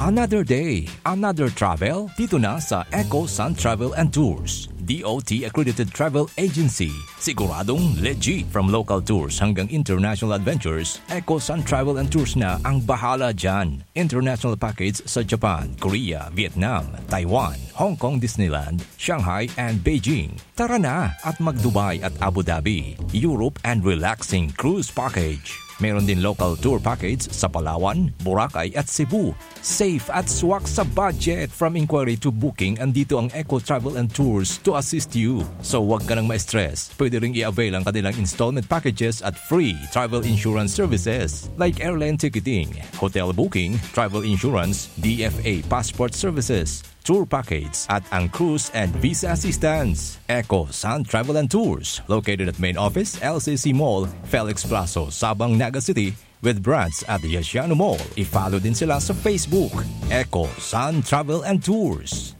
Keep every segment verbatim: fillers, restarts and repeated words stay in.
Another day, another travel, dito na sa Eco Sun Travel and Tours, D O T accredited travel agency. Siguradong legit, from local tours hanggang international adventures, Eco Sun Travel and Tours na ang bahala dyan. International package sa Japan, Korea, Vietnam, Taiwan, Hong Kong Disneyland, Shanghai and Beijing. Tara na at mag-Dubai at Abu Dhabi, Europe and relaxing cruise package. Meron din local tour package sa Palawan, Boracay at Cebu. Safe at swak sa budget. From inquiry to booking, andito ang Eco Travel and Tours to assist you. So, wag ka nang ma-stress. Pwede ring i-avail ang kanilang installment packages at free travel insurance services like airline ticketing, hotel booking, travel insurance, D F A passport services, tour package, at ang cruise and visa assistance. Eco Sun Travel and Tours, located at Main Office, L C C Mall, Felix Plazo, Sabang, Naga City, with branch at Yasiano Mall. I-follow din sila sa Facebook, Eco Sun Travel and Tours.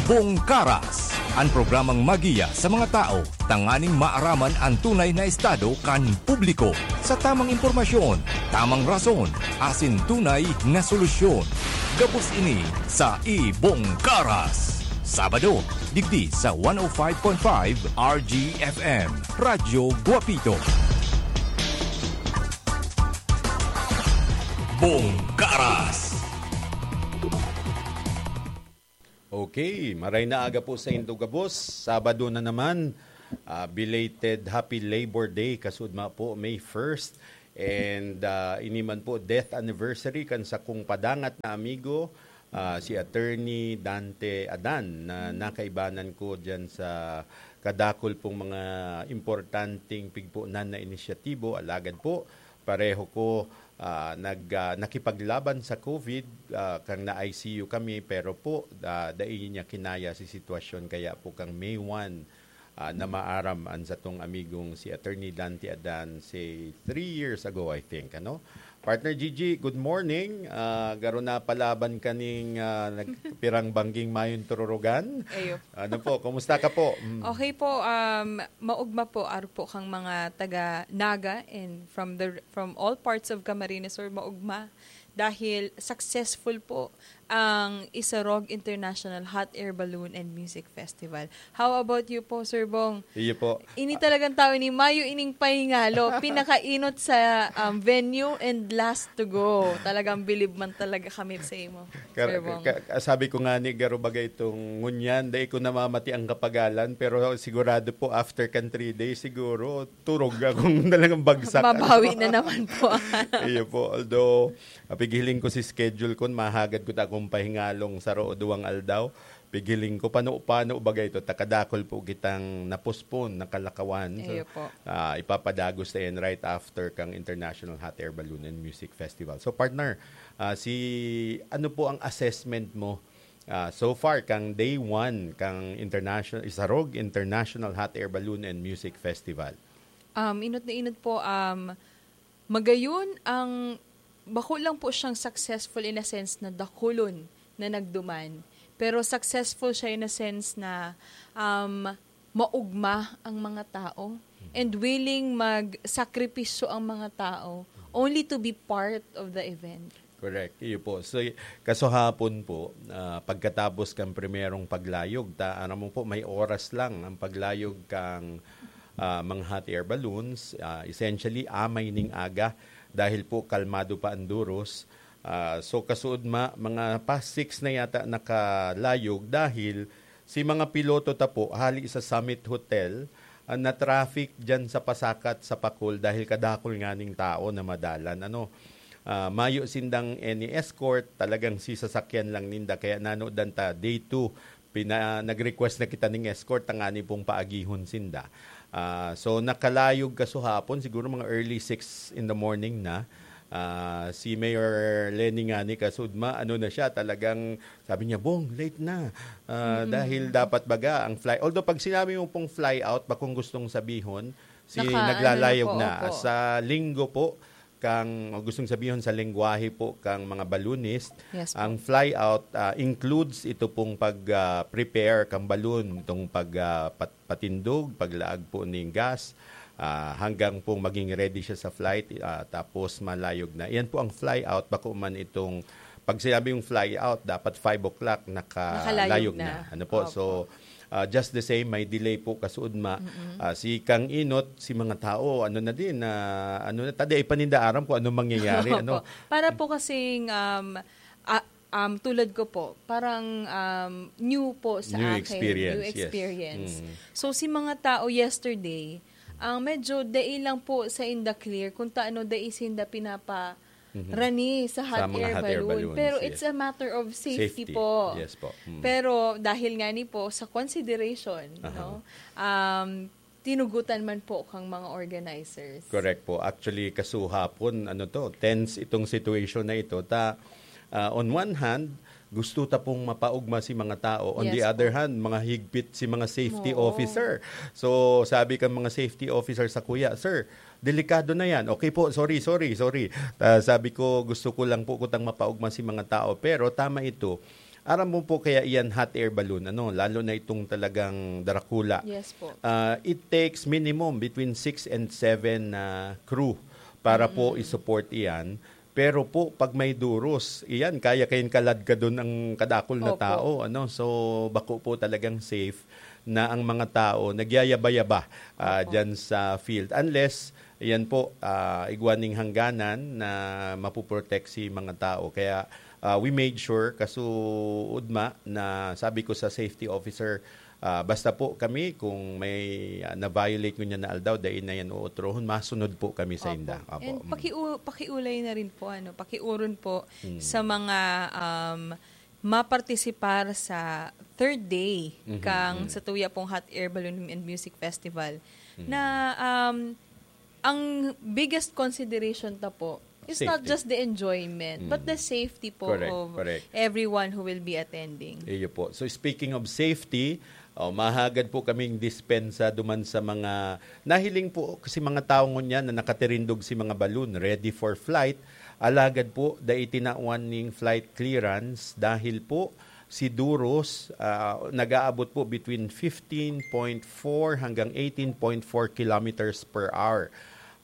Bongkaras, ang programang magiya sa mga tao tanganing maaraman an tunay na estado kan publiko. Sa tamang impormasyon, tamang rason, asin tunay na solusyon. Gabos ini sa Ibong Karas. Sabado, digdi sa one oh five point five R G F M, Radyo Guapito. Bongkaras. Okay, maray na aga po sa indo gabos. Sabado na naman, ah, belated Happy Labor Day, kasudma po, May first. And, ah, ini man po, death anniversary kan sakong padangat na amigo, ah, si Attorney Dante Adan, na nakaibanan ko diyan sa kadakol pong mga importanteng pigponan na inisyatibo. Alagad po, pareho ko, ah, nag, ah, nakipaglaban sa COVID, ah, kang na-I C U kami, pero po, ah, dai niya kinaya si sitwasyon, kaya po kang May one, ah, na maaram an satong amigong si Attorney Dante Adan, say, three years ago, I think, ano? Partner Gigi, good morning. Ah, garo na palaban kaning, ah, nagpirang bangging mayong tururugan. Ayo. Ano po, kumusta ka po? Mm. Okay po, um, maugma po, aro po kang mga taga Naga and from the, from all parts of Camarines Sur, maugma. Dahil successful po ang Isarog International Hot Air Balloon and Music Festival. How about you po, Sir Bong? Iyo po. Ini talagang tao ini, mayo ining pahingalo. Pinakainot sa, um, venue and last to go. Talagang bilib man talaga kami sa imo, Kar-, Sir Bong. ka-, sabi ko nga ni Garo, bagay itong ngunyan, dai ko namamati ang kapagalan, pero sigurado po after kan three days, siguro, turog akong talagang bagsak. Mabawi na naman po. Iyo po. Although, ah, pighiling ko si schedule kun mahagad ko ta akong pahingalong saro o duwang aldaw. Pighiling ko, pano-pano baga ito, ta kadakol po kitang na-postpone, nakalakawan. So, Iyo po. ah, ipapadagos na yan right after kang International Hot Air Balloon and Music Festival. So, partner, ah, si, ano po ang assessment mo, ah, so far, kang day one, kang International, Isarog International Hot Air Balloon and Music Festival? Um, inot na inot po, um, magayon ang, bako lang po siyang successful in a sense na dakulon na nagduman. Pero successful siya in a sense na, um, maugma ang mga tao and willing magsakripisyo ang mga tao only to be part of the event. Correct. Iyo po. So, y-, kasuhapon po, ah, pagkatapos kan primerong paglayog, ta, aram mo po, may oras lang ang paglayog kang, ah, mga hot air balloons. Ah, essentially, amay ning aga dahil po kalmado pa ang duros. Ah, so, kasuod ma-, mga past six na yata nakalayog dahil si mga piloto ta po, hali sa Summit Hotel, ah, na-traffic dyan sa pasakat sa Pacol dahil kadakol nga ning tao na madalan. Ano, ah, mayo sindang any escort, talagang si sasakyan lang ninda. Kaya nanodan ta, day two, pina-, nag-request na kita ning escort, tangani pong paagihon sinda. Ah, so, nakalayog kasuhapon, siguro mga early six in the morning na. Ah, si Mayor Leni nga ni kasudma, ano na siya, talagang sabi niya, "Bong, late na." Ah, Mm. dahil dapat baga ang fly, although pag sinabi mo pong fly out, bakong gustong sabihon, si Naka-, ano na naglalayog po, na. opo. Sa linggo po, kang, gustong sabihon sa lengguwahe po kang mga balloonist, Yes po. ang fly out, ah, includes ito pong pag, ah, prepare kang balloon, itong pag, ah, pat-, patindog, paglaag po ning gas, Ah, hanggang pong maging ready siya sa flight, ah, tapos malayog na. Yan po ang fly out, bako man itong, pag sinabing fly out, dapat five o'clock, nakalayog Nakalayog na. na. Ano po? Opo. So, ah, just the same, may delay po, kasuodma. Mm-mm. Ah, si Kang Inot, si mga tao, ano na din, ah, ano na, tadi ay paninda aram kung anong mangyayari, Opo. ano? Para po kasing, um, ah, um, tulad ko po, parang, um, new po sa New akin, experience, new yes. experience. Mm. So, si mga tao yesterday, ang medyo dai lang po sa inda clear kung taano dai sinda pinapa Mhm. rani sa Sa hot mga air hot air balloon. balloons, Pero yes. it's a matter of safety Safety. po. Yes po. Mm. Pero dahil nga ni po sa consideration, Aha. no? Um, tinugutan man po kang mga organizers. Correct po. Actually, kasuhapon, ano to, tense itong situation na ito. Ta, ah, on one hand, gusto ta pong mapaugma si mga tao. On Yes the other po. hand, mga higpit si mga safety Oo. officer. So, sabi kan mga safety officer sa kuya, "Sir, delikado na yan." "Okay po, sorry, sorry, sorry." Ah, sabi ko, "Gusto ko lang po kutang mapaugma si mga tao." Pero tama ito. Aram mo po kaya iyan hot air balloon, ano, lalo na itong talagang Dracula. Yes po. Ah, it takes minimum between six and seven na crew para po Mm. i-support iyan. Pero po, pag may duros, iyan, kaya kayong kaladkadon ang kadakol na Opo. tao, ano? So, bako po talagang safe na ang mga tao nagyayaba-yaba, ah, Opo. dyan sa field. Unless, iyan po, ah, igwa ning hangganan na mapoprotect si mga tao. Kaya, ah, we made sure, kasuodma, na sabi ko sa safety officer, ah, basta po kami, kung may, ah, na-violate ngunyan na aldaw, dai na yan uutrohon, masunod po kami sa Opo. inda. Opo. And Mm. pakiu-, pakiulay na rin po, ano, pakiuron po Hmm. sa mga, um, mapartisipar sa third day Mhm, kang mhm. sa Tuya pong Hot Air Balloon and Music Festival Mhm. na, um, ang biggest consideration ta po is not Safety. just the enjoyment, but Mm. the safety po Correct, of correct. everyone who will be attending. Iyo po. So, speaking of safety, oh, mahagad po kaming dispensa duman sa mga nahiling po kasi mga tao ngunyan na nakatirindog si mga balloon, ready for flight. Alagad po, dai tinawan ning flight clearance dahil po si Duros, ah, nag-aabot po between fifteen point four hanggang eighteen point four kilometers per hour.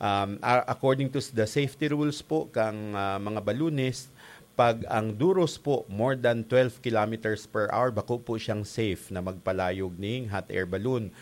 Um, a-, according to s-, the safety rules po kang, ah, mga balloonist, pag ang Duros po more than twelve kilometers per hour, bako po siyang safe na magpalayog ning hot air balloon.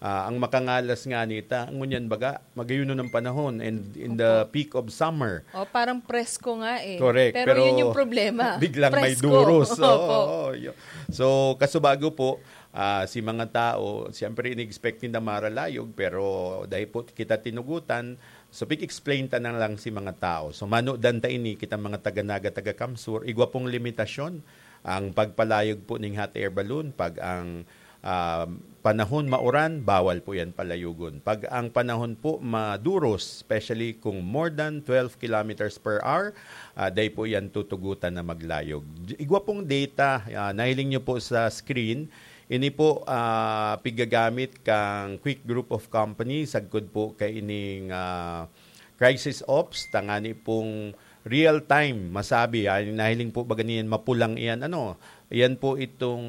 Ah, ang makangalas nga nita, ngunyan baga, magayunon ang panahon and in the Opo. peak of summer. Oh, parang presko nga eh. Correct, Pero pero yun yung problema. biglang may Presko. Duros. Oo, Opo. oo, yun. So, kasubago po, ah, si mga tao, siyempre, in-expect ninda maralayog, pero dahil po kita tinugutan, so, pig-explain ta na lang si mga tao. So, manodan ta ini, kita mga taga Naga, taga Kamsur, igwa pong limitasyon ang pagpalayog po ning hot air balloon. Pag ang, ah, panahon mauran, bawal po yan palayogon. Pag ang panahon po maduros, especially kung more than twelve kilometers per hour, ah, dai po yan tutugutan na maglayog. Igwa pong data, ah, nahiling nyo po sa screen, ini po, ah, pigagamit kang Quick Group of Companies, sagkod po kay ining, ah, Crisis Ops, tangani pong real time, masabi, ah, nahiling po ba ganiyan, mapulang iyan, ano, iyan po itong,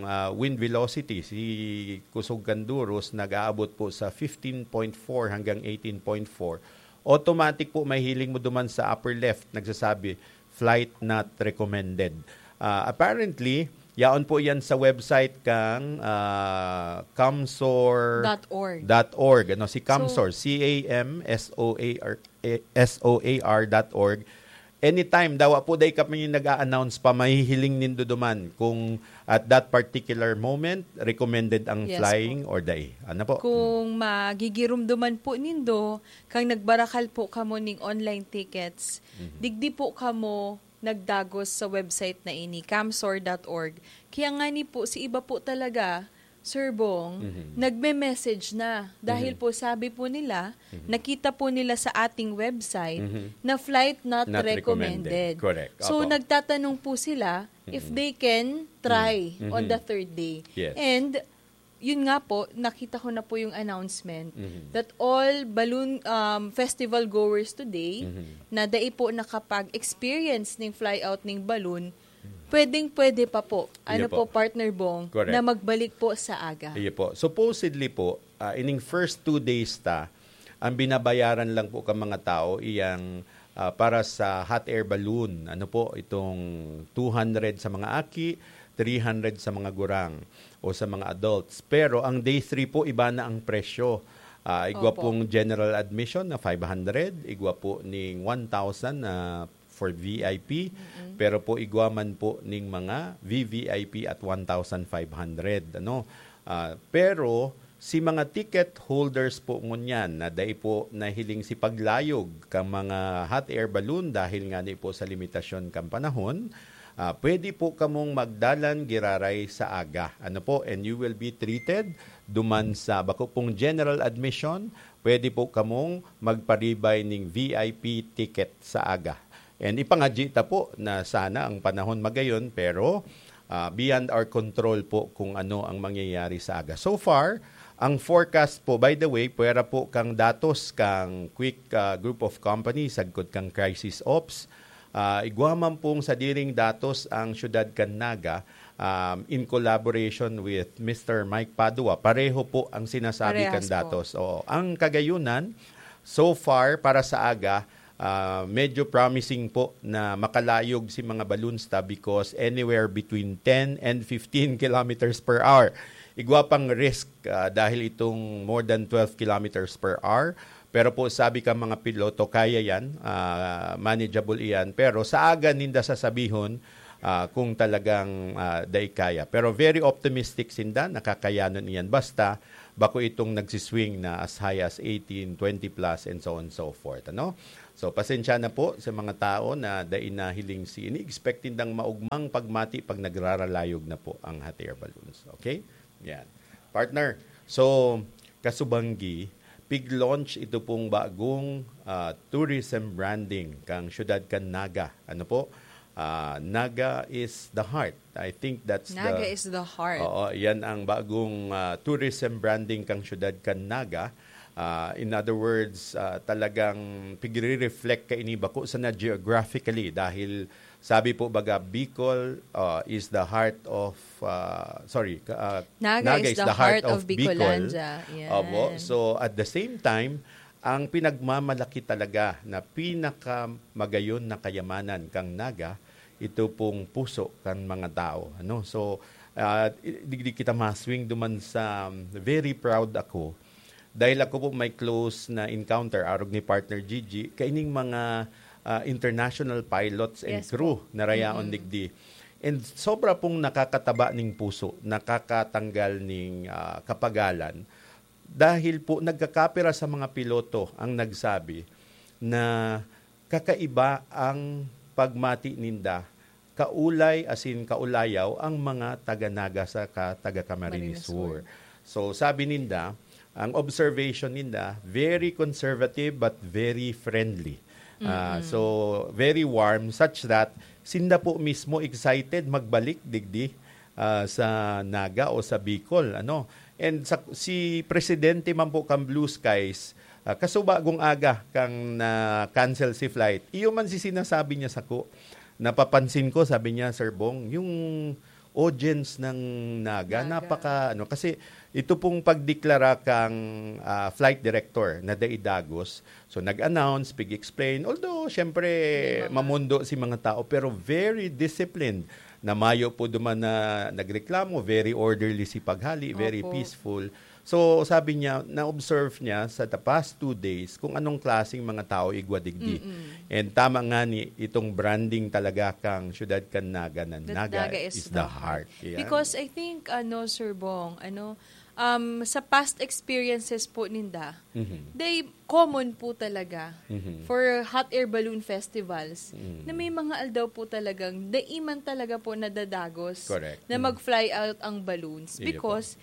ah, wind velocity, si Kusog kan Duros, nag-aabot po sa fifteen point four hanggang eighteen point four. Automatic po, mahiling mo duman sa upper left, nagsasabi, "Flight not recommended." Ah, apparently, yaon po yan sa website kang, ah, Kamsor Dot org. dot org. Ano, si So, Kamsor, C A M S O A R, eh, S O A R dot org. Anytime, dawa po, dai kami nag-a-announce pa, mahihiling nindo duman kung at that particular moment, recommended ang Yes flying po. or dai. Ano po? Kung magigirumduman po nindo, kang nagbarakal po kamo ning online tickets, Mhm. digdi po kamo nagdagos sa website na ini, kamsor dot org. Kaya nga ni po, si iba po talaga, Sir Bong, Mhm. nagme-message na. Dahil Mhm. po, sabi po nila, Mhm. nakita po nila sa ating website Mhm. na flight not Not recommended. recommended. Correct. So, Opo. nagtatanong po sila if Mhm. they can try Mhm. on Mhm. the third day. Yes. And, yun nga po, nakita ko na po yung announcement Mhm. that all balloon, um, festival goers today Mhm. na dai po nakapag-experience ning fly out ning balloon, pwedeng-pwede pa po, Iyo ano po. po, Partner Bong, Correct. na magbalik po sa aga. Iyo po. Supposedly po, ah, ining first two days ta, Ang binabayaran lang po ka mga tao iyang, ah, para sa hot air balloon, ano po, itong two hundred sa mga aki, three hundred sa mga gurang o sa mga adults. Pero ang day three po, iba na ang presyo. Ah, igwa Opo. pong general admission na five hundred, igwa po ning one thousand na for V I P, Mm-mm. pero po igwa man po ning mga V V I P at one thousand five hundred, ano. Ah, pero si mga ticket holders po ngunyan na dai po nahiling si paglayog kang mga hot air balloon dahil nga ni po sa limitasyon kan panahon, ah, pwede po kamong magdalan giraray sa aga. Ano po? And you will be treated duman sa bako pong general admission, pwede po kamong magparibay ning V I P ticket sa aga. And ipangadyi ta po na sana ang panahon magayon, pero, ah, beyond our control po kung ano ang mangyayari sa aga. So far, ang forecast po, by the way, pwera po kang datos kang Quick, ah, Group of Companies, sagkod kang Crisis Ops, ah, igwa man pong sadiring datos ang siyudad kan Naga, um, in collaboration with Mister Mike Padua. Pareho po ang sinasabi kan Parehas po. datos. Oo. Ang kagayunan, so far, para sa aga, ah, medyo promising po na makalayog si mga balloons ta because anywhere between ten and fifteen kilometers per hour. Igwa pang risk, ah, dahil itong more than twelve kilometers per hour. Pero po, sabi ka mga piloto, kaya yan, ah, manageable iyan. Pero sa aga ninda sasabihon, ah, kung talagang, ah, dai kaya. Pero very optimistic sinda, nakakayanon iyan. Basta, bako itong nagsiswing na as high as eighteen, twenty plus, and so on and so forth. Ano? So, pasensya na po sa mga tao na dai nahiling si, ini-expect nindang maugmang pagmati pag nagraralayog na po ang hot air balloons. Okay? Yan. Partner, so, kasubanggi, pig-launch ito pong bagong, ah, tourism branding kang siyudad kan Naga. Ano po? Ah, Naga is the heart. I think that's Naga the is the heart. Oo, yan ang bagong, ah, tourism branding kang siyudad kan Naga. Ah, in other words, ah, talagang pigre-reflect ka ini bako sana geographically dahil sabi po baga Bicol, ah, is the heart of, ah, sorry, ka- ah, Naga Naga is is the the heart heart of of Bicol. Bicolandia. Yan. Opo. So at the same time, ang pinagmamalaki talaga na pinakamagayon na kayamanan kang Naga, ito pong puso kan mga tao, ano? So, ah, i- digdi kita maswing duman sa, um, very proud ako dahil ako po may close na encounter arog ni partner Gigi kaining mga, ah, international pilots and Yes crew po. na rayaon Mm-mm. digdi. And sobra pong nakakataba ning puso, nakakatanggal ning, ah, kapagalan dahil po nagkakapira sa mga piloto ang nagsabi na kakaiba ang pagmati ninda, kaulay, asin kaulayaw ang mga taga Naga saka taga Camarines Sur. Sur. So, sabi ninda, ang observation ninda, very conservative but very friendly. Ah, Mm-mm. so, very warm such that sinda po mismo excited magbalik digdi, ah, sa Naga o sa Bicol, ano. And sa, si presidente man po kan Blue Skies, ah, kasubagong aga kang na-cancel si flight. Iyo man si sinasabi niya sako, napapansin ko, sabi niya, "Sir Bong, yung audience ng Naga, Naga. napaka, ano," kasi ito pong pagdeklara kang, ah, flight director na dai dagos. So, nag-announce, pig-explain. Although, syempre, May mga mamundo si mga tao, pero very disciplined. Na mayo po duman na nagreklamo, very orderly si paghali, very Opo. peaceful. So, sabi niya, na-observe niya sa the past two days kung anong klaseng mga tao igwa digdi. Mm-mm. And tama nga ni itong branding talaga kang siyudad kan Naga na That Naga Naga is is the the heart. heart. Yan. Because I think, ano, Sir Bong, ano, um, sa past experiences po ninda, Mhm. they common po talaga Mhm. for hot air balloon festivals Mm. na may mga aldaw po talagang daiman talaga po nadadagos Correct. na Mm. mag-fly out ang balloons Iyo po. because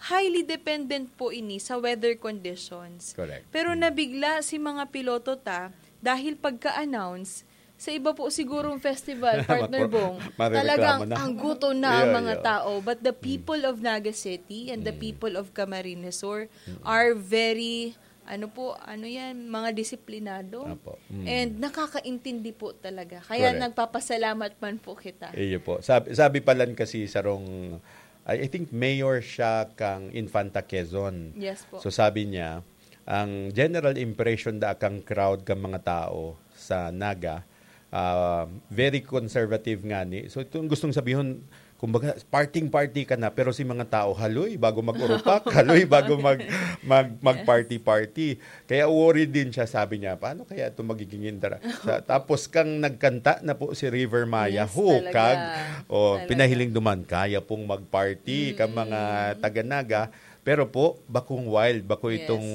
highly dependent po ini sa weather conditions. Correct. Pero Mm. nabigla si mga piloto ta dahil pagka-announce, sa iba po sigurong festival, Partner Mako-, Bong, marereklamo talagang na. ang gutom na ang Iyo, mga iyo. tao. But the Mm. people of Naga City and the Mm. people of Camarines Sur Mm. are very, ano po, ano yan, mga disiplinado. Apo. Mm. And nakakaintindi po talaga. Kaya Correct. nagpapasalamat man po kita. Iyo po. Sabi, sabi palan kasi sarong, I, I think mayor siya kang Infanta Quezon. Yes po. So sabi niya, Ang general impression da kang crowd, kang mga tao sa Naga, ah, very conservative ngani. So, itong gustong sabihon, kumbaga, parting-party ka na, pero si mga tao, haloy, bago mag-urupak, haloy, bago mag, mag, mag-party-party. Kaya worried din siya, sabi niya, "Paano kaya ito magiging intera-" Sa, tapos kang nagkanta na po si River Maya, Yes, hukag. talaga. O, Talaga. pinahiling duman, kaya pong mag-party, kang mga Mm. taga-Naga. Pero po, bakong wild, bako Yes. itong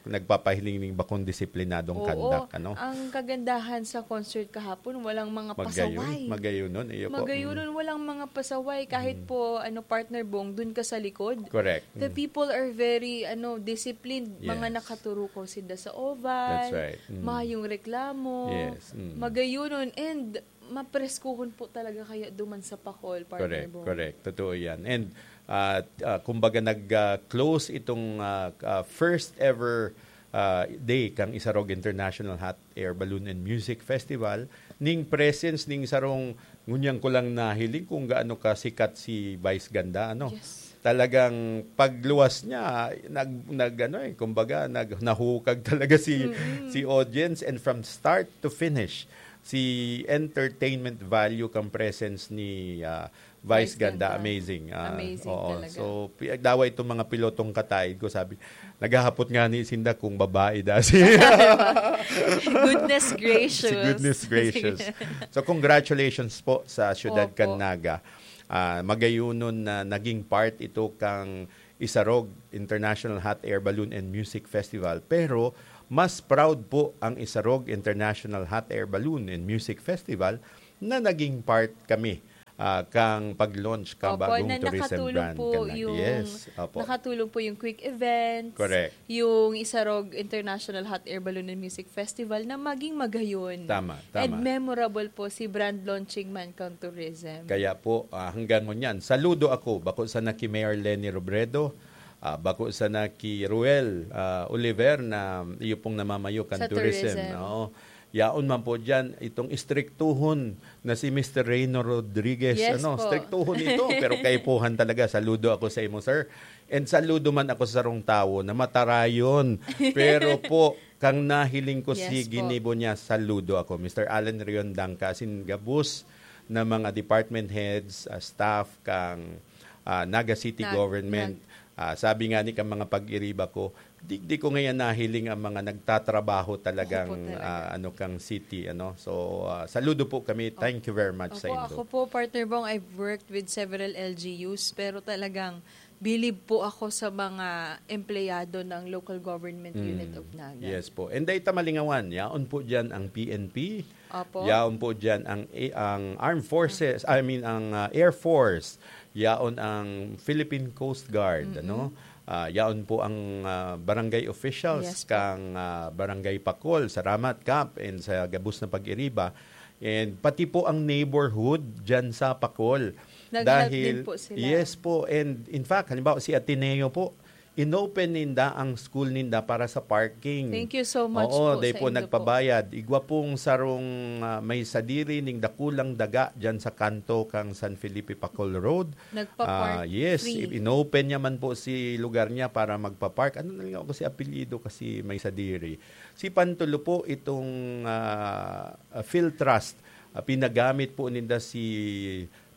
nagpapahiling ning bakong disiplinadong Oo, conduct, ano? ang kagandahan sa concert kahapon, walang mga Magayon, pasaway. magayon nun, iyo po. Magayon Mm. nun, walang mga pasaway. Kahit Mm. po, ano, partner Bong, dun ka sa likod. Correct. The Mm. people are very, ano, disciplined. Mga Yes. nakaturukaw sinda sa oval, That's right. Mm. mayong reklamo. Yes. Mm. Magayon nun. And mapreskuhon po talaga kaya duman sa Pacol, partner Correct, Bong. correct. Totoo yan. And, ah, ah, kumbaga nag, ah, close itong, ah, ah, first ever, ah, day kang Isarog International Hot Air Balloon and Music Festival. Ning presence ning sarong, ngunyan ko lang nahiling kung gaano kasikat si Vice Ganda, ano? Yes. Talagang pagluwas niya, nag, nag, ano eh, kumbaga, nag, nahukag talaga si, Mm-mm. si audience. And from start to finish, si entertainment value kang presence ni, ah, Vice Vice Ganda, Ganda. amazing. Ah, Amazing oo. talaga. So, pi-, dawa itong mga pilotong kataid ko, sabi, naghahapot nga ni Sinda kung babae da si Goodness gracious. Si goodness gracious. Sige. So, congratulations po sa Siyudad Opo. Canaga. Ah, magayunon na naging part ito kang Isarog International Hot Air Balloon and Music Festival. Pero, mas proud po ang Isarog International Hot Air Balloon and Music Festival na naging part kami, ah, kang pag-launch kang Opo, bagong na tourism nakatulong brand po ka na. yung, Yes, opo. nakatulong po yung Quick Events, Correct. yung Isarog International Hot Air Balloon and Music Festival na maging magayon. Tama, And tama. memorable po si brand launching man kang tourism. Kaya po, ah, hanggang ngunyan, saludo ako, bako sana ki Mayor Leni Robredo, ah, bako sana ki Ruel, ah, Oliver na iyo pong namamayo kan Sa tourism. tourism. Oo. Yaon man po dyan, itong istriktuhon na si Mister Reyno Rodriguez. Yes Ano, po. istriktuhon ito, pero kaipuhan talaga. Saludo ako sa imo, sir. And saludo man ako sa sarong tawo na matarayon. Pero po, kang nahiling ko Yes si po. ginibo niya, saludo ako. Mister Alan Rion Dangka, asin gabos na mga department heads, ah, staff kang, ah, Naga City Nag-, Government. nag- Ah, sabi nga ni kang mga pag-iriba ko, digdi ko ngayon nahiling ang mga nagtatrabaho talagang, Opo, talaga. ah, ano, kang city, ano. So, ah, saludo po kami. Thank you very much sa Opo, indo. ako po, partner Bong, I've worked with several L G Us, pero talagang bilib po ako sa mga empleyado ng local government Mm. unit of Naga. Yes po. And dahil ta malingawan, yaon po dyan ang P N P, Opo. yaon po dyan ang, ang Armed Forces, I mean, ang, ah, Air Force, yaon ang Philippine Coast Guard, Mm-mm. ano? Ah, yaon po ang, ah, barangay officials Yes po. kang, ah, Barangay Pacol. Salamat, Kap, and sa gabos na pag-iriba. And pati po ang neighborhood dyan sa Pacol. Nag-help Dahil, din po sila. yes po. And in fact, halimbawa, si Ateneo po, inopen ninda ang school ninda para sa parking. Thank you so much Oo, po they sa po indo po. nagpabayad. Igwa pong sarong, ah, may sadiri ning dakulang daga dyan sa kanto kang San Felipe Pacol Road. Nagpa-park Ah, yes, free. inopen niya man po si lugar niya para magpa-park. Ano na lang ako si apelyido kasi may sadiri. Si Pantulo po itong, ah, ah, Philtrust. Ah, pinagamit po ninda si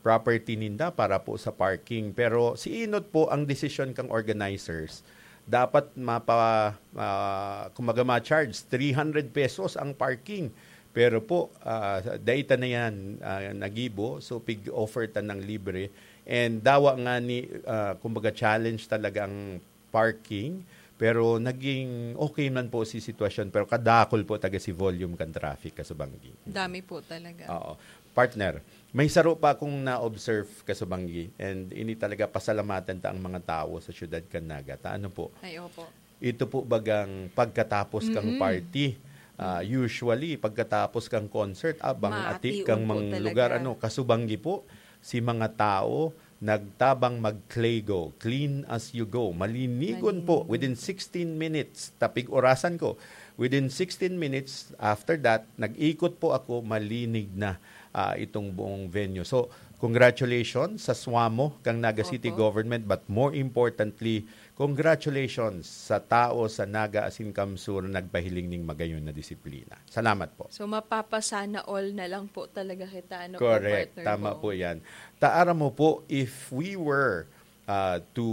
property ninda para po sa parking. Pero si inot po ang desisyon kang organizers. Dapat mapa, ah, kumaga ma-charge three hundred pesos ang parking. Pero po, ah, data na yan, ah, nagibo. So, pig-offer ta ng libre. And dawa nga ni, ah, kumbaga challenge talaga ang parking. Pero naging okay man po si sitwasyon. Pero kadakol po taga si volume kan traffic, kasubanggi. Dami po talaga. Oo. Partner, may saro pa akong na-observe, kasubanggi. And ini talaga pasalamatan ta ang mga tao sa siyudad kan Naga. Ta, ano po? Ay, opo. Ito po bagang pagkatapos kang Mm-mm. party. Ah, Mm. usually, pagkatapos kang concert, abang Maati ati kang on po mga talaga. lugar, ano, kasubanggi po, si mga tao nagtabang mag-clay go, clean as you go. Malinigon po, Malinigon. within sixteen minutes, tapig orasan ko, within sixteen minutes, after that, nag-ikot po ako, malinig na, ah, itong buong venue. So, congratulations sa swamo kang Naga City Opo. Government, but more importantly, Congratulations sa tao sa Naga asin CamSur na nagpahiling ning magayon na disiplina. Salamat po. So, mapapasana all na lang po talaga kita, ano po, Correct. Partner Tama Bong? Po yan. Taara mo po, if we were uh, to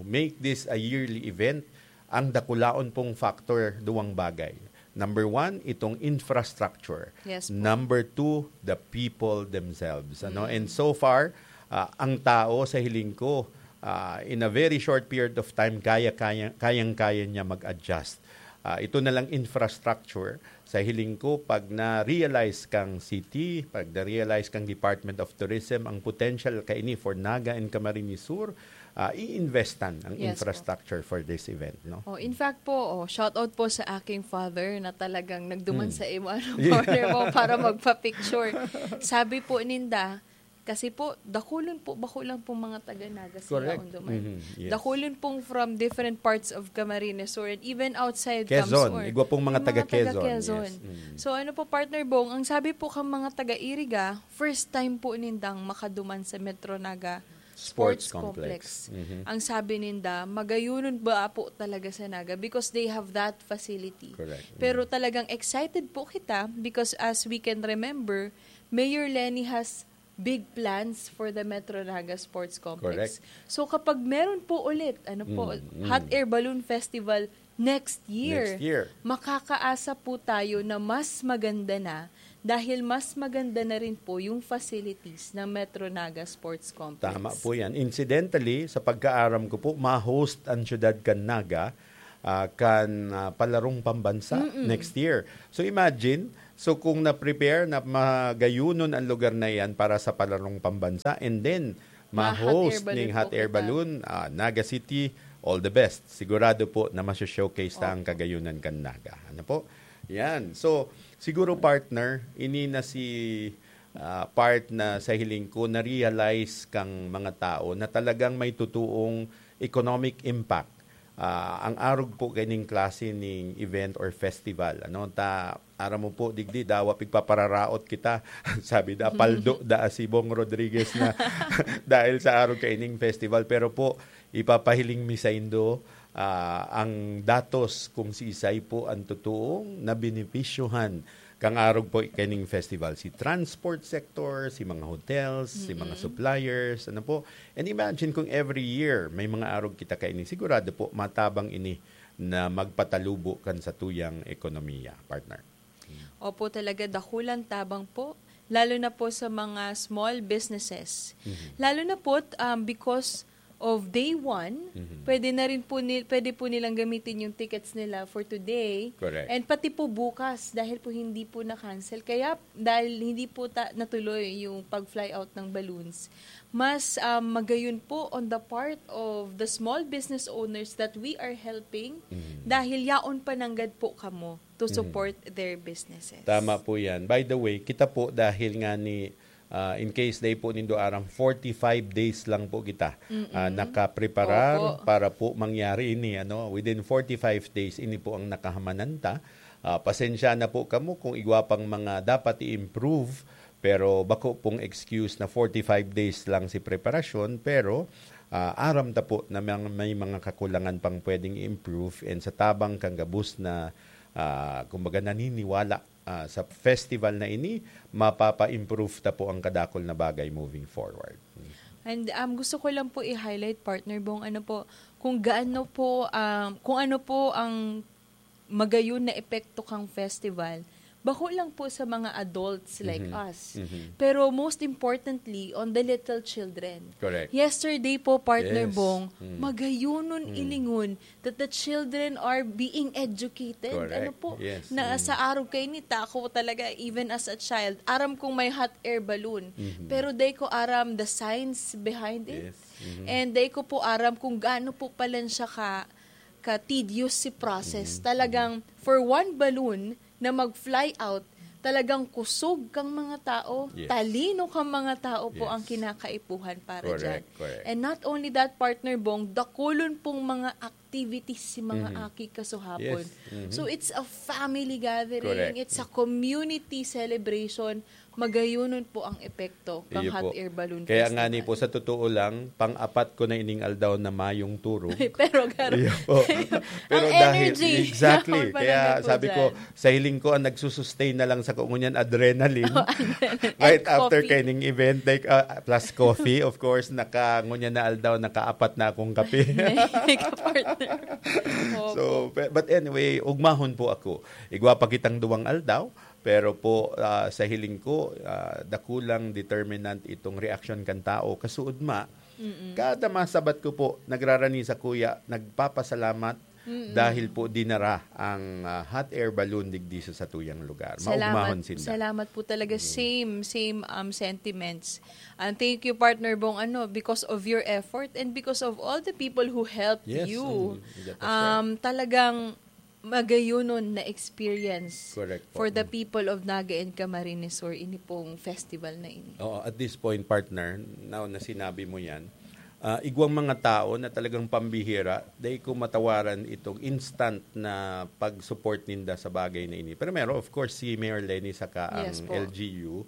make this a yearly event, ang dakulaon pong factor, duwang bagay. Number one, itong infrastructure. Yes po. Number two, the people themselves. Ano? Mm. And so far, uh, ang tao sa hiling ko, uh, in a very short period of time, kaya, kaya, kayang-kaya niya mag-adjust. Uh, ito na lang infrastructure, sa hiling ko, pag na-realize kang city, pag na-realize kang Department of Tourism, ang potential kaini for Naga and Camarines Sur, ah, i-investan ang Yes po. infrastructure for this event, no? Oh, in fact po, oh, shout out po sa aking father na talagang nagduman Mm. sa imo, ano, Yes. partner mo para magpa-picture. Sabi po ninda, kasi po, dakulon po, bako lang po mga taga Naga sila Correct. ang duman. Mhm, yes. Dakulon pong from different parts of Camarines Sur and even outside Quezon, CamSur. Igwa pong mga Yung taga mga taga Quezon, Quezon. yes. Mm. So, ano po, partner Bong, ang sabi po kang mga taga Iriga, first time po nindang makaduman sa Metro Naga Sports Sports Complex. Complex. Mhm. Ang sabi ninda, magayunon ba po talaga sa Naga because they have that facility. Correct. Pero Mm. talagang excited po kita because as we can remember, Mayor Leni has big plans for the Metro Naga Sports Complex. Correct. So kapag meron po ulit, ano po, Mm, mm. Hot Air Balloon Festival next year, Next year. makakaasa po tayo na mas maganda na dahil mas maganda na rin po yung facilities ng Metro Naga Sports Complex. Tama po yan. Incidentally, sa pagkaaram ko po, ma-host ang siyudad kan Naga, ah, kan, ah, palarong pambansa Mm-mm. next year. So imagine, so kung na-prepare na magayunon ang lugar na yan para sa palarong pambansa, and then Ma-hot ma-host air balloon ning hot po air kita. balloon, ah, Naga City, all the best. Sigurado po na maso-showcase ta ang Opo. kagayunan kan Naga. Ano po? Yan. So, siguro partner, ini na si, ah, part na sa hiling ko na-realize kang mga tao na talagang may totoong economic impact. Ah, ang arog po kaining klase ning event or festival, ano, ta, aram mo po, digdi, dawa pigpapararaot kita. Sabi da, paldo da si Bong Rodriguez na dahil sa arog kaining festival. Pero po, ipapahiling mi saindo, ah, ang datos kung siisay po ang totoong nabenepisyohan kan arog po kaining festival. Si transport sector, si mga hotels, si mga Mm-mm. suppliers, ano po. And imagine kung every year may mga arog kita kaini, sigurado po matabang ini na magpatalubo kan satuyang ekonomiya, partner. Opo, talaga dakulang tabang po, lalo na po sa mga small businesses. Mhm. Lalo na po, um, because of day one, Mhm. pwede na rin po ni-, pwede po nilang gamitin yung tickets nila for today. Correct. And pati po bukas, dahil po hindi po na-cancel. Kaya, dahil hindi po ta-, natuloy yung pag-fly out ng balloons, mas, um, magayon po on the part of the small business owners that we are helping Mhm. dahil yaon pa nanggad po kamo to Mhm. support their businesses. Tama po yan. By the way, kita po dahil nga ni, ah, in case day po nindo aram, forty-five days lang po kita, Mm-mm. ah, nakapreparar Opo. para po mangyari ini, ano, within forty-five days, ini po ang nakahamanan ta. Ah, pasensya na po kamo kung igwa pang mga dapat i-improve, pero bako pong excuse na forty-five days lang si preparasyon, pero, ah, aram ta po na may, may mga kakulangan pang pwedeng i-improve, and sa tabang kan gabos na, ah, kumbaga, naniniwala, ah, sa festival na ini, mapapa-improve ta po ang kadakol na bagay moving forward. And, um, gusto ko lang po i-highlight, partner Bong, ano po, kung gaano po, um, kung ano po ang magayon na epekto kang festival, bako lang po sa mga adults like Mhm. us. Mhm. Pero most importantly, on the little children. Correct. Yesterday po, partner Yes. Bong, Mm. magayonon Mm. ilingon that the children are being educated. Correct. Ano po? Yes. Na Mm. sa arog kaini, ta ako talaga, even as a child, aram kong may hot air balloon. Mhm. Pero dai ko aram the science behind it. Yes. Mhm. And dai ko po aram kung gaano po pala siya ka, ka-tedious si process. Mhm. Talagang for one balloon na mag-fly out, talagang kusog kang mga tao, Yes. talino kang mga tao po ang Yes. kinakaipuhan para Correct, dyan. correct. And not only that, partner Bong, dakulon pong mga ak-, activities si mga Mhm. aki kasuhapon. Yes. Mhm. So it's a family gathering, Correct. It's a community celebration. Magayonon po ang epekto kang Iyo hot po. Air Balloon Kaya Festival. nga ni po, sa totoo lang, pang-apat ko na ining aldaw na mayong turog. Pero gar- Iyo po. Pero Ang dahil, energy. exactly. Ako pa Kaya lang po sabi ko, dyan. sa hiling ko, ang nagsusustain na lang sa ko ngunyan, adrenaline. Oh, adrenaline. Right And after coffee. kaining event, like, uh, plus coffee, of course, naka, ngunyan na aldaw, nakaapat na akong kape. May ka-partner. Opo. So, pe- but anyway, ugmahon po ako. Igwa pa kitang duwang aldaw, pero po, ah, sa hiling ko, ah, dakulang determinant itong reaksyon kan tao. Kasuod ma, kada masabat ko po, nagrarani sa kuya, nagpapasalamat dahil po dinara ang, ah, hot air balloon digdi sa satuyang lugar. Maugmahon sinda. Salamat po talaga. Same, same um, sentiments. And thank you, Partner Bong, ano, because of your effort and because of all the people who helped Yes, you. and that was Um, talagang magayunon na experience Correct po. for the people of Naga and Camarines Sur, ini pong festival na ini. Oo, at this point, partner, now na sinabi mo yan, ah, igwang mga tao na talagang pambihira, dai ko matawaran itong instant na pag-support ninda sa bagay na ini. Primero, of course, si Mayor Leni saka ang Yes po. L G U.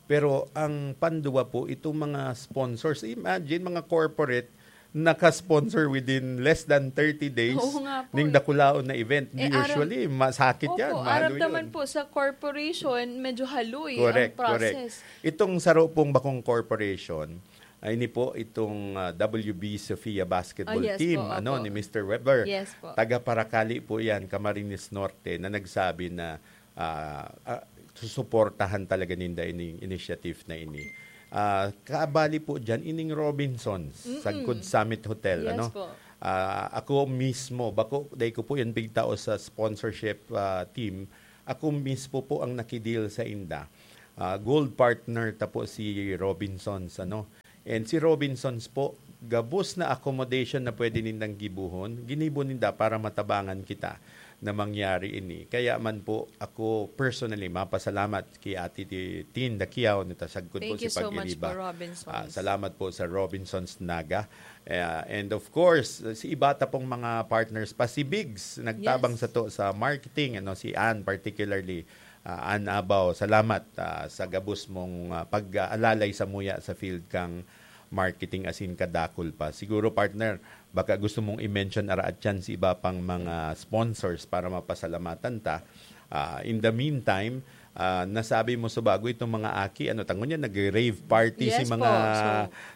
Pero ang panduwa po, itong mga sponsors, imagine, mga corporate, naka-sponsor within less than thirty days Oo nga po ning eh. dakulaon na event. Eh, Usually, masakit Opo, yan, mahalo aram naman yun. Po sa corporation, medyo haloy Correct, ang process. Correct. Itong saro pong bakong corporation, ay ini po itong ah, W B Sofia basketball Ah, yes team po, ano opo. ni Mister Weber. Yes po. Taga Paracali po yan, Camarines Norte, na nagsabi na ah, ah, susuportahan talaga ninda ining initiative na ini. Ah, kaabali po dyan, ining Robinsons, Mm-mm. Sagkod Summit Hotel. Yes ano? po. Ah, ako mismo, bako, dai ko po yan pigtao sa sponsorship ah, team, ako mismo po ang nakideal sa inda. Ah, gold partner ta po si Robinsons. Ano? And si Robinsons po, gabos na accommodation na pwede nindang gibuhon, ginibo ninda para matabangan kita na mangyari ini. Kaya man po, ako personally, mapasalamat kay Ate Ti-, Tin Dakiao na tasagkod po Thank si you so much Pag-iriba. po, Robinsons. Ah, salamat po sa Robinsons Naga. Eh, and of course, si iba ta pong mga partners pa, si Biggs, nagtabang Yes. sa to sa marketing, ano, si Ann particularly, ah, Ann Abaw, salamat ah, sa gabos mong ah, pag-aalalay sa muya sa field kang marketing asin kadakol pa. Siguro, partner, baka gusto mong i-mention araat yan si iba pang mga sponsors para mapasalamatan ta. Ah, in the meantime, ah, nasabi mo subago itong mga aki, ano, tangon niya, nag-rave party si Yes mga po, so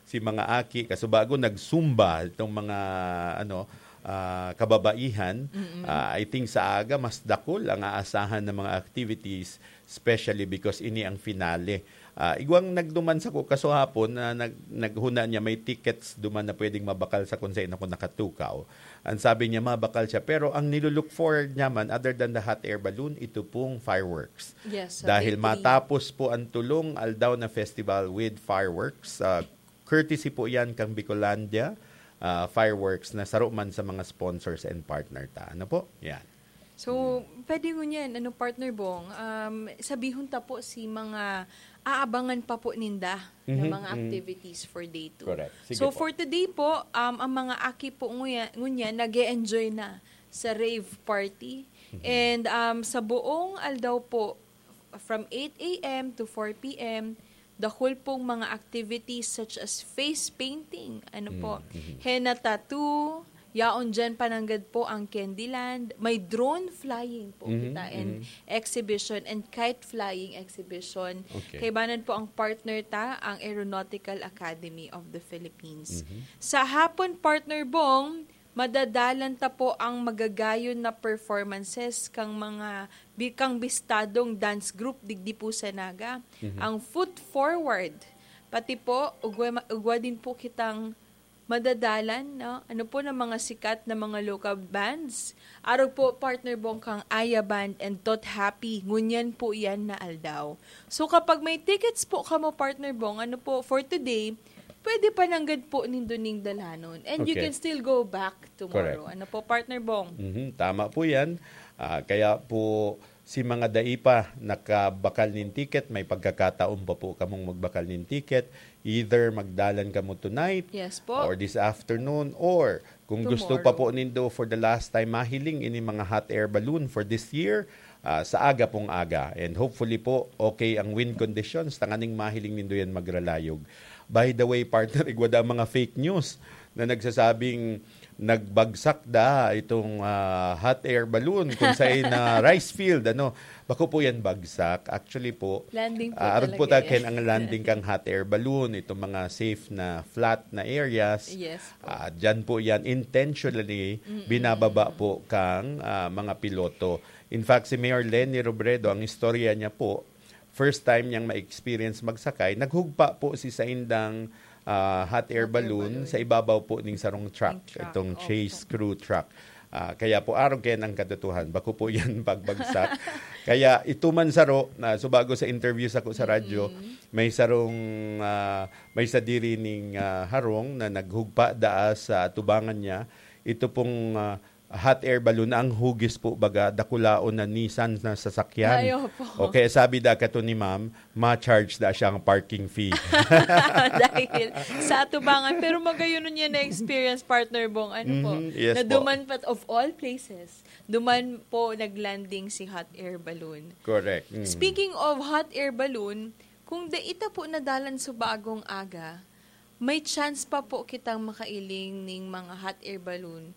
si mga aki, kasubago nag-zumba itong mga ano ah, kababaihan. Ah, I think sa aga mas dakul ang aasahan ng mga activities, especially because ini ang finale. Ah, igwang nagduman sa ko kasuhapon na nag, naghuna niya may tickets duman na pwedeng mabakal sa kung saan ako nakatukaw. Ang sabi niya, mabakal siya. Pero ang nilulook forward niya man, other than the hot air balloon, ito pong fireworks. Yes, sa Dahil Victory. Matapos po ang tulong aldaw na festival with fireworks, ah, courtesy po yan kang Bicolandia ah, Fireworks na saro man sa mga sponsors and partner ta. Ano po? Yan. So, pwede ngunyan, ano, Partner Bong, um, sabihon ta po si mga aabangan pa po ninda na Mhm, mga mhm. activities for day two. Correct. Sige So, po. For today po, um, ang mga aki po nguya- ngunyan nag enjoy na sa rave party. Mhm. And um, sa buong aldaw po, from eight a m to four p m, dahil pong mga activities such as face painting, ano po, Mm, mhm. henna tattoo, yaon dyan pananggad po ang Candyland, may drone flying po Mhm, kita and mhm. exhibition and kite flying exhibition. Okay. Kaibanan po ang partner ta, ang Aeronautical Academy of the Philippines. Mhm. Sa hapon, Partner Bong, madadalan ta po ang magagayon na performances kang mga bi- kang bistadong dance group digdi po sa Naga, Mhm. ang Foot Forward. Pati po, ugwa, ugwa din po kitang madadalan, no? Ano po, ng mga sikat na mga local bands. Arog po, Partner Bong, kang Aya Band and Tot Happy. Ngunyan po yan na aldaw. So, kapag may tickets po kamo, Partner Bong, ano po, for today, pwede pa nanggad po nindo ning dalanon. And you Okay. can still go back tomorrow. Correct. Ano po, Partner Bong? Mhm, tama po yan. Ah, kaya po, si mga dai pa nakabakal nin ticket, may pagkakataon pa po kamong magbakal nin ticket. Either magdalan kamo tonight Yes po. or this afternoon or Kung gusto pa po nindo for the last time mahiling ini mga hot air balloon for this year, ah, sa aga pong aga. And hopefully po, okay ang wind conditions, tanganing mahiling nindo yan magralayog. By the way, partner, igwa da mga fake news na nagsasabing nagbagsak da itong, ah, hot air balloon kung sa na rice field, ano. Bako po yan bagsak. Actually po, Landing po ah, arog po talaga taken yan. Ang landing kang hot air balloon, itong mga safe na flat na areas. Yes po. Ah, dyan po yan, intentionally, binababa po kang ah, mga piloto. In fact, si Mayor Leni Robredo, ang istorya niya po, first time niyang ma-experience magsakay, naghugpa po si saindang ah, hot air Hot air balloon balloon. Sa ibabaw po ning sarong truck, Ning truck, itong opo. Chase crew truck. Ah, kaya po, arog kayo ng katotohan. Bako po yan pagbagsak. Kaya ito man saro, na subago sa interview sa sa radyo, may sarong, ah, may sadiri ning ah, harong na naghugpa daa sa atubangan niya. Ito pong ah, hot air balloon, ang hugis po baga, dakulaon na Nissan na sasakyan. Ay, opo. O kaya sabi da kato ni ma'am, ma-charge da siyang parking fee. Dahil sa atubangan. Pero magayon niya na experience, partner Bong. Ano po? Mhm, yes na po. Duman pa, of all places, duman po nag-landing si hot air balloon. Correct. Mm. Speaking of hot air balloon, kung daita po nadalan sa bagong aga, may chance pa po kitang makailing ning mga hot air balloon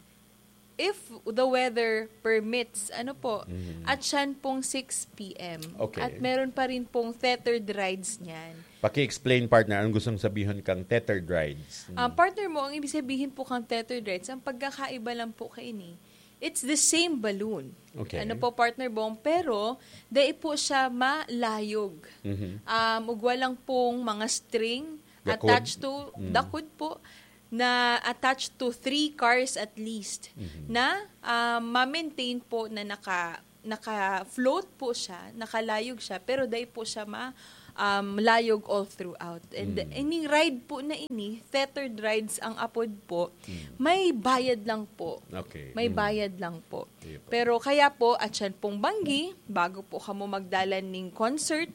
if the weather permits, ano po, Mhm. at siyan pong six p.m. Okay. At meron pa rin pong tethered rides niyan. Paki-explain, partner, anong gustong sabihin kang tethered rides? Ah, partner mo, ang ibig sabihin po kang tethered rides, ang pagkakaiba lang po kaini, it's the same balloon. Okay. Ano po, partner Bong? Pero, dai po siya malayog. Mhm. Um, ugwa lang pong mga string Dakod. attached to, Mm. dakod po, na attached to three cars at least, Mhm. na um, ma-maintain po na naka, naka-float po siya, nakalayog siya, pero dai po siya ma, um, layog all throughout. And Mm. ining ride po na ini, tethered rides ang apod po, Mm. may bayad lang po. Okay. May Mm. bayad lang po. Sige po. Pero kaya po, at yan pong banggi, bago po kamo magdalan ning concert,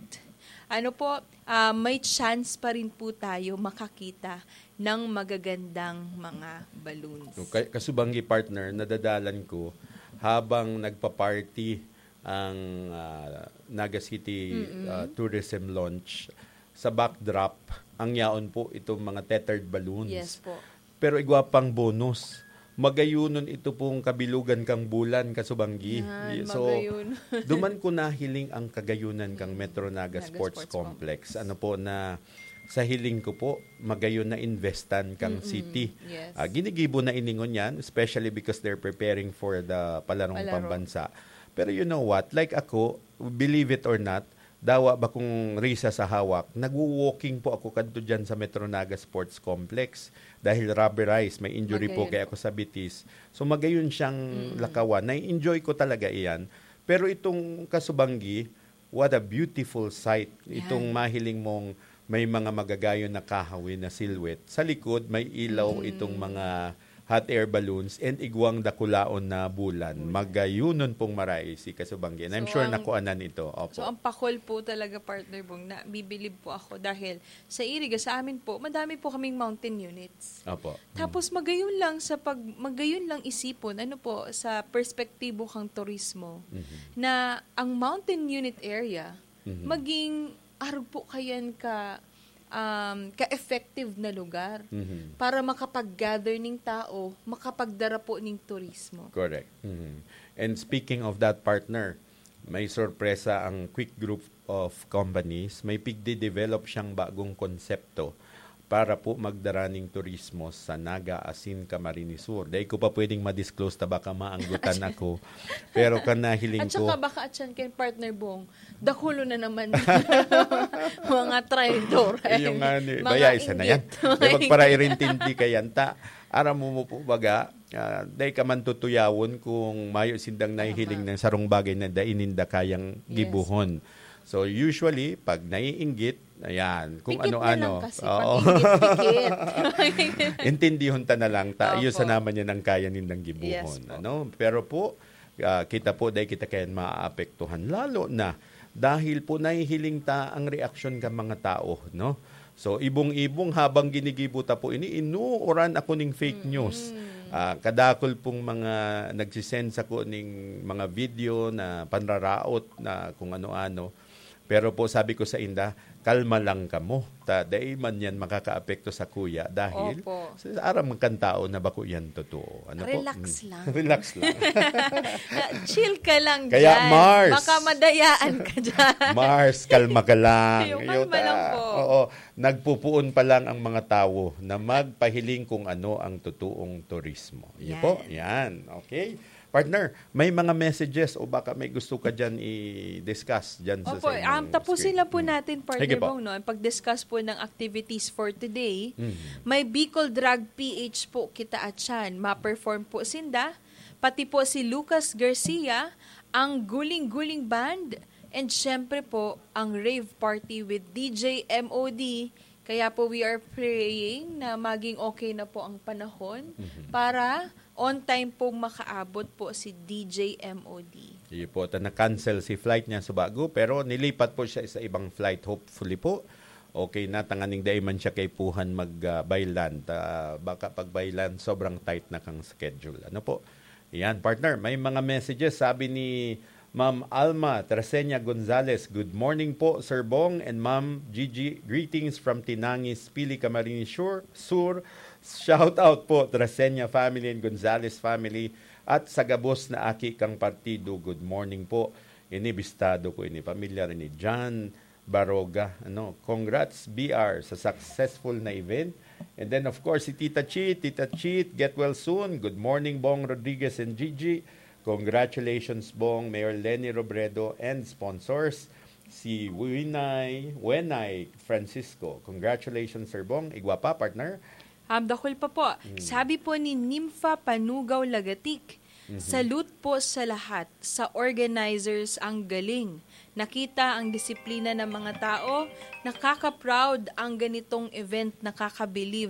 ano po, ah, may chance pa rin po tayo makakita ng magagandang mga balloons. So, kay, kasubanggi, partner, nadadalan ko habang nagpa-party ang ah, Naga City ah, Tourism Launch, sa backdrop, ang yaon po itong mga tethered balloons. Yes po. Pero igwa pang bonus. Magayunon ito pong kabilugan kang bulan, kasubanggi. Yan, So, magayunon. Duman ko nahiling ang kagayunan kang Metro Naga Naga Sports, Sports Complex. Ano po na sa hiling ko po, magayon na investan kang Mm-mm. city. Yes. Ah, ginigibo na iningon yan, especially because they're preparing for the Palarong Palaro. Pambansa. Pero you know what? Like ako, believe it or not, dawa ba kung risa sa hawak, nagwo-walking po ako kadto dyan sa Metro Naga Sports Complex dahil rubberized, may injury po Magayon kaya po. Ako sa bitis. So magayon siyang Mm-mm. lakawan. Nai-enjoy ko talaga iyan. Pero itong kasubanggi, what a beautiful sight. Yan. Itong mahiling mong may mga magagayon na kahoy na silhouette. Sa likod, may ilaw Mm. itong mga hot air balloons and igwang dakulaon na bulan. Magayunon pong maray si kasubanggi. And I'm So, sure ang nakuanan ito. Opo. So, ang pakol po talaga, partner Bong, na bibilib po ako dahil sa Iriga, sa amin po, madami po kaming mountain units. Opo. Tapos magayon lang sa pag magayon lang isipon, ano po, sa perspektibo kang turismo, Mhm. na ang mountain unit area Mhm. maging arog po kayan ka um, ka-effective na lugar Mhm. para makapag-gather ning tao, makapagdara po ning turismo. Correct. Mhm. And speaking of that, partner, may sorpresa ang Quick Group of Companies. May pigde-develop siyang bagong konsepto para po magdara ning turismo sa Naga asin Camarines Sur. Dai ko pa pwedeng ma-disclose ta baka maanggutan ako. Pero kan nahiling At ko, saka baka at yan kay partner Bong, dakulo na naman mga traidor. Yung nga ni, Mga baya isa na yan. inggit. Di magparairintindi ka yan, ta. Aram mo mo po baga, ah, dai ka man tutuyawon kung mayo sindang nahihiling Tama. Ng sarong bagay na dai ninda kayang Yes. Gibuhon. So usually, pag naiinggit, ayan, kung Pikit na ano-ano. lang kasi, Oo. pag-inggit-pikit. Intindihon ta na lang, ta. Iyo Opo. Sa naman yan ang kaya nindang gibuhon. Yes po. Ano? Pero po, ah, kita po, dahil kita kaya maapektuhan. Lalo na, dahil po nahihiling ta ang reaksyon ka mga tao, no? So, ibong-ibong habang ginigibo ta po ini, inuuran ako ning fake news. Ah, kadakol pong mga nagsisend sako ning mga video na panraraot na kung ano-ano. Pero po, sabi ko sa inda, "Kalma lang kamo. Ta, dai man yan makakaapekto sa kuya dahil Opo. sa aram kan tao na bako yan totoo." Ano po? Relax Mm. lang. Relax lang. Ah, chill ka lang Kaya dyan. Mars. Baka madayaan ka dyan. Mars, kalma ka lang. Yung Yung kalma lang ta-, po. oo, nagpupuon pa lang ang mga tao na magpahiling kung ano ang totoong turismo. Yun Yan. po, yan. Okay. Partner, may mga messages o baka may gusto ka dyan i-discuss dyan sa, Opo, sa inyong um, tapusin screen. lang po Mm. natin, Partner Sige po. Bong, no? Ang pag-discuss po ng activities for today, Mm. may Bicol Drag P H po kita atyan. Ma-perform po sinda, pati po si Lucas Garcia, ang Guling Guling Band, and syempre po, ang rave party with D J M O D. Kaya po, we are praying na maging okay na po ang panahon Mhm. para on time pong makaabot po si D J M O D. Iyo po, ta na-cancel si flight niya sa bago, pero nilipat po siya sa ibang flight, hopefully po. Okay na, tanganing dai man siya kaipuhan mag, ah, by land. Ah, baka pag by land, sobrang tight na kang schedule. Ano po? Yan, partner, may mga messages. Sabi ni Ma'am Alma Trasenia Gonzalez, "Good morning po, Sir Bong and Ma'am Gigi. Greetings from Tinangis, Pili, Camarines Sur. Sur. Shout out po, Trasenia family and Gonzalez family at sa gabos na aki kang partido. Good morning po." Ini bistado ko, ini pamilyar ni John Baroga. Ano, congrats, B R, sa successful na event. And then, of course, si Tita Chi. Tita Chi, get well soon. Good morning, Bong Rodriguez and Gigi. Congratulations, Bong, Mayor Leni Robredo, and sponsors, si Winay, Wenay Francisco. Congratulations, Sir Bong. Igwa pa, partner. Um, dakul pa po. Mm. Sabi po ni Nympha Panugaw Lagatik, Mhm. "Salute po sa lahat, sa organizers, ang galing. Nakita ang disiplina ng mga tao, nakaka-proud ang ganitong event, nakakabilib."